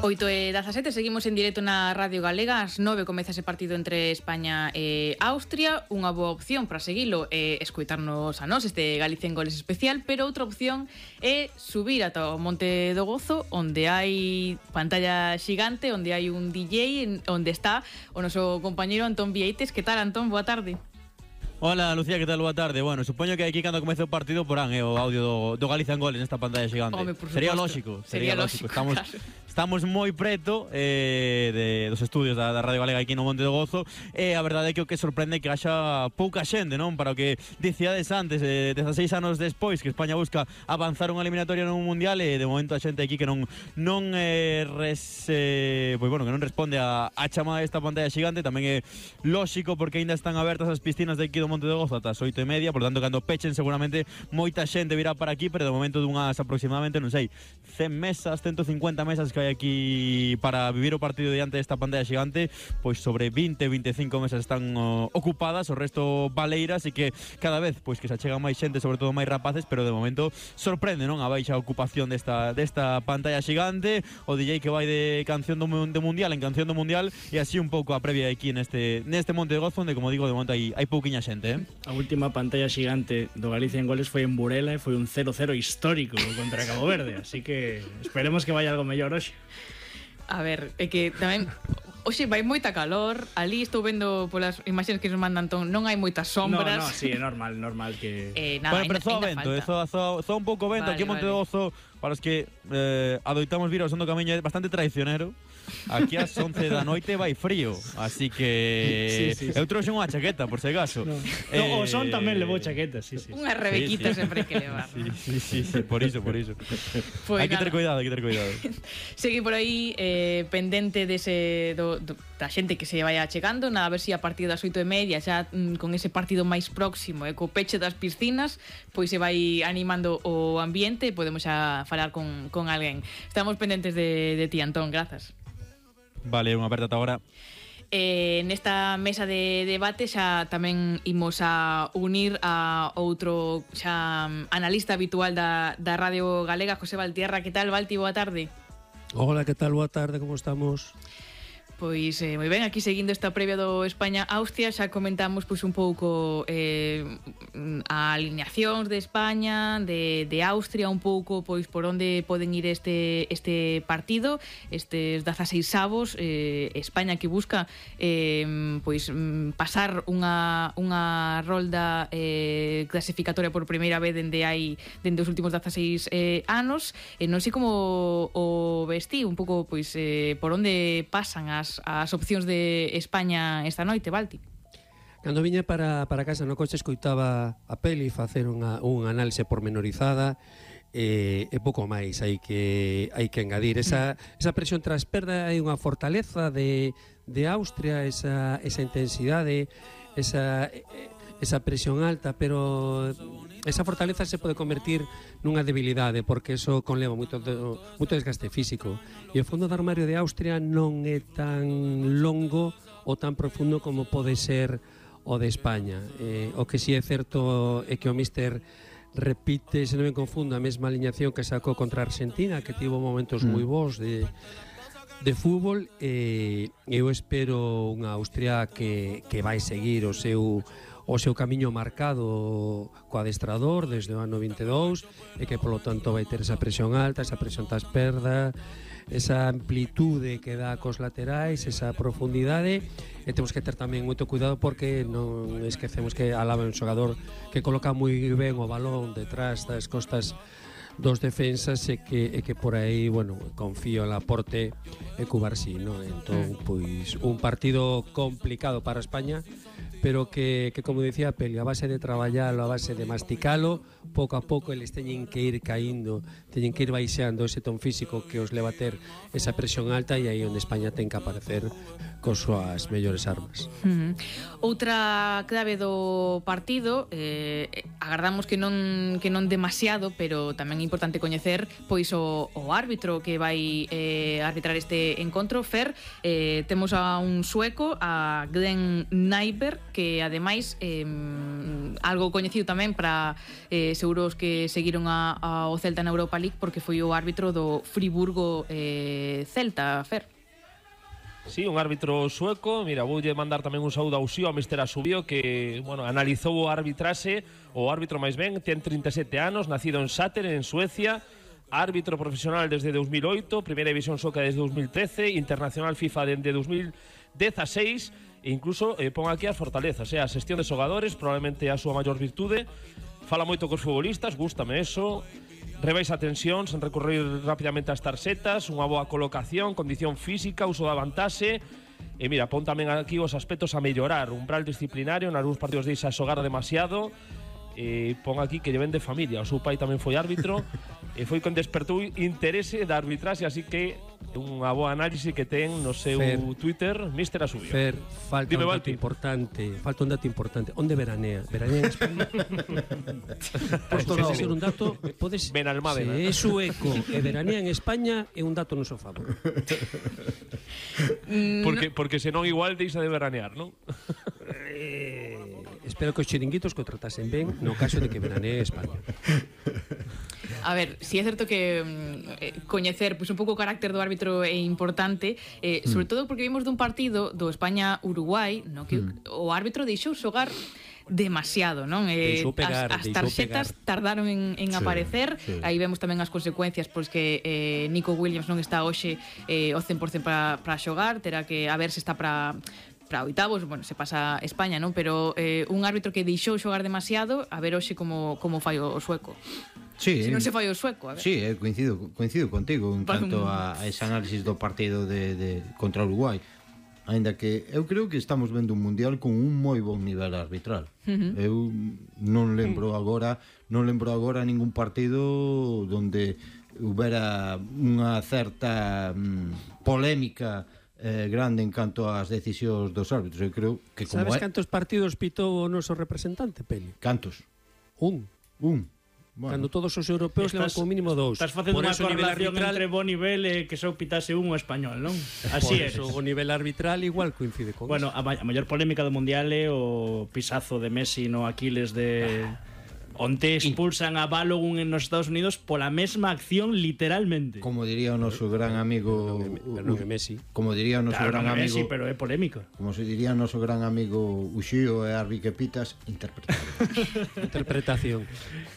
8:17, seguimos en directo na Radio Galega. Ás 9 comeza ese partido entre España e Austria. Unha boa opción para seguilo é escoitarnos a nós este Galicia en Goles especial, pero outra opción é subir ata o Monte do Gozo, onde hai pantalla xigante, onde hai un DJ, onde está o noso compañeiro Antón Vieites. Que tal, Antón? Boa tarde. Hola, Lucía, que tal? Boa tarde. Bueno, supoño que aquí cando comece o partido porán o audio do Galicia en Goles nesta pantalla xigante. Home, Sería lógico. Estamos moi preto dos estudios da Radio Galega aquí no Monte do Gozo, e a verdade é que o que sorprende é que haxa pouca xente, non? Para o que dicíades antes, 16 anos despois que España busca avanzar unha eliminatoria nun mundial, e de momento a xente aquí que non responde a chamada desta pantalla xigante. Tamén é lógico porque aínda están abertas as piscinas de aquí do Monte do Gozo ata as 8:30, por tanto, cando pechen seguramente moita xente virá para aquí, pero de momento dunhas aproximadamente, non sei, 100 mesas, 150 mesas que hai aquí para vivir o partido diante desta pantalla xigante, pois sobre 20-25 mesas están ocupadas, o resto baleiras, e que cada vez pois que se achegan máis xente, sobre todo máis rapaces, pero de momento sorprende, non? A baixa ocupación desta pantalla xigante, o DJ que vai de canción do mundial en canción do mundial, e así un pouco a previa aquí neste Monte de Gozo, onde, como digo, de momento hai pouquiña xente. A última pantalla xigante do Galicia en Goles foi en Burela e foi un 0-0 histórico contra Cabo Verde, así que esperemos que vaya algo mellor hoxe. A ver, é que tamén hoxe vai moita calor. Ali estou vendo polas imaxes que nos manda Antón, non hai moitas sombras. No, sí, é normal que... Nada, bueno, pero zoa vento, zoa un pouco vento. Vale, aquí en Monte do Gozo, para os que adoitamos vir ao son do camiño, é bastante traicionero. Aquí ás 11 da noite vai frío, así que sí. Eu trouxe unha chaqueta, por se acaso. O son tamén levou chaqueta, sí. Unha rebequita sempre hai que levar. Sí, por iso. Pues hai que ter cuidado. Segui por aí pendente dese da xente que se vaya chegando, nada, a ver se a partir das 8:30 xa con ese partido máis próximo e co peche das piscinas, pois se vai animando o ambiente e podemos xa falar con alguén. Estamos pendentes de ti, Antón, grazas. Vale, unha aperta ata agora. Nesta mesa de debate xa tamén imos a unir a outro xa analista habitual da Radio Galega, José Valtierra. Que tal, Valti? Boa tarde. Hola, que tal? Boa tarde, como estamos? Pois moi ben, aquí seguindo esta previa do España-Austria, xa comentamos pois un pouco a alineacións de España, de Austria, un pouco pois por onde poden ir este partido, estes 16avos, España que busca pois pasar unha rolda clasificatoria por primeira vez dende os últimos 16 anos, e non sei como o vestí un pouco pois por onde pasan as opcións de España esta noite, Valti. Cando viña para casa no coche escoitaba a peli facer unha análise pormenorizada e pouco máis hai que engadir esa presión tras perda. Hai unha fortaleza de Austria, esa intensidade, esa presión alta, pero esa fortaleza se pode convertir nunha debilidade, porque eso conleva moito desgaste físico, e o fondo de armario de Austria non é tan longo ou tan profundo como pode ser o de España. O que si é certo é que o míster repite, se non me confundo, a mesma aliñación que sacou contra Argentina, que tivo momentos moi bons de fútbol, e eu espero unha Austria que vai seguir o seu camiño marcado co adestrador desde o ano 22, e que polo tanto vai ter esa presión alta, esa presión tras perda, esa amplitude que dá cos laterais, esa profundidade, e temos que ter tamén moito cuidado porque non esquecemos que Alaba é un xogador que coloca moi ben o balón detrás das costas dos defensas, e que por aí, bueno, confío en Laporte e Cubarsí, non? Entón, pois, un partido complicado para España, pero que como dicía Peli, a base de traballalo, a base de masticalo, pouco a pouco eles teñen que ir caíndo, teñen que ir baixando ese ton físico que os leva a ter esa presión alta, e aí onde España ten que aparecer cos súas mellores armas. Outra clave do partido, agardamos que non demasiado, pero tamén é importante coñecer pois o árbitro que vai arbitrar este encontro. Fer, temos a un sueco, a Glenn Nyberg, que ademais algo coñecido tamén para seguros que seguiron ao Celta na Europa League, porque foi o árbitro do Friburgo Celta, Fer. Sí, un árbitro sueco. Mira, voulle mandar tamén un saúdo ao Xío, a Mr. Asubio, que, bueno, analizou o arbitraxe. O árbitro máis ben ten 37 anos, nacido en Säter, en Suecia, árbitro profesional desde 2008, Primeira División Soca desde 2013, internacional FIFA desde 2016, e incluso pon aquí as fortalezas, a xestión de xogadores, probablemente a súa maior virtude. Fala moito cos futbolistas, gústame eso. Rebaixa tensión sen recurrir rapidamente ás tarxetas, unha boa colocación, condición física, uso da vantaxe. E mira, pon tamén aquí os aspectos a mellorar, umbral disciplinario, nalgúns partidos deixa xogar demasiado. Pon aquí que lle ven de familia, o seu pai tamén foi árbitro e foi con despertou interese da arbitraxe, así que unha boa análise que ten no seu Twitter, Mr. Asubio. Fer, falta un dato importante. Onde veranea? Veranea en España? Podes ser un dato, podes... Ben Almádena. Se é sueco e veranea en España é un dato no seu favor. Porque senón igual deixa de veranear, non? Espero que os chiringuitos contratasen ben no caso de que veranee en España. A ver, si é certo que coñecer un pouco o carácter do árbitro é importante, sobre todo porque vimos dun partido do España-Uruguai, no que o árbitro deixou xogar demasiado, non? As tarxetas tardaron en aparecer. Aí vemos tamén as consecuencias, pois que Nico Williams non está hoxe ao 100% para xogar, terá que a ver se está para oitavos, bueno, se pasa España, non? Pero un árbitro que deixou xogar demasiado, a ver hoxe como fai o sueco. Sí, se non se fai o sueco, a ver. Sí, coincido contigo en canto a ese análisis do partido de contra Uruguai. Ainda que eu creo que estamos vendo un mundial con un moi bon nivel arbitral. Eu non lembro agora ningún partido donde houbera unha certa polémica grande en canto ás decisións dos árbitros. Eu creo que como sabes cantos partidos pitou o noso representante, Peli? Cantos? Un. Bueno, cando todos os europeos levan como mínimo 2. Estás facendo unha correlación entre bo nivel e que só pitase un español, non? Así é. O nivel arbitral igual coincide con bueno, eso. A maior polémica do Mundial é o pisazo de Messi no Aquiles de... onte expulsan a Balogun en nos Estados Unidos pola mesma acción literalmente. Como diría o noso gran amigo Messi. Como diría o noso gran amigo Messi, pero é polémico. Como se diría o noso gran amigo Uxío e Arbi que pitas, interpretación.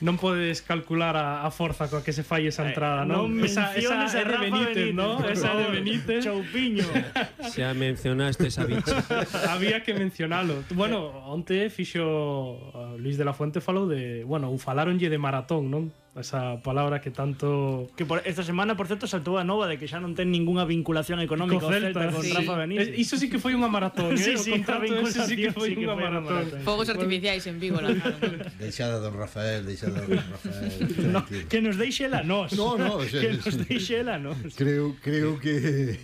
Non podes calcular a forza coa que se fai esa entrada, non? Esa é de Benítez, non? Esa é de Benítez. Choupiño. Xa mencionaste esa bicha. Había que mencionalo. Bueno, onte fixo Luis de la Fuente falou de, bueno, falaronlle de maratón, non? Esa palabra que tanto... Que esta semana, por certo, saltou a nova de que xa non ten ninguna vinculación económica o Celta con Rafa Benítez. Iso sí que foi unha maratón, sí, o contrato ese sí que foi unha maratón. Fogos artificiais en Vigo, la Deixada don Rafael. No, que nos deixe ela nós. No, que nos deixe ela nós. Creo que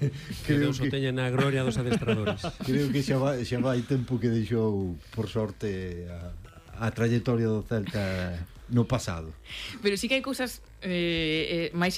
Deus o teña na gloria dos adestradores. Creo que xa vai tempo que deixou, por sorte, a trayectoria do Celta no pasado. Pero sí que hai cousas máis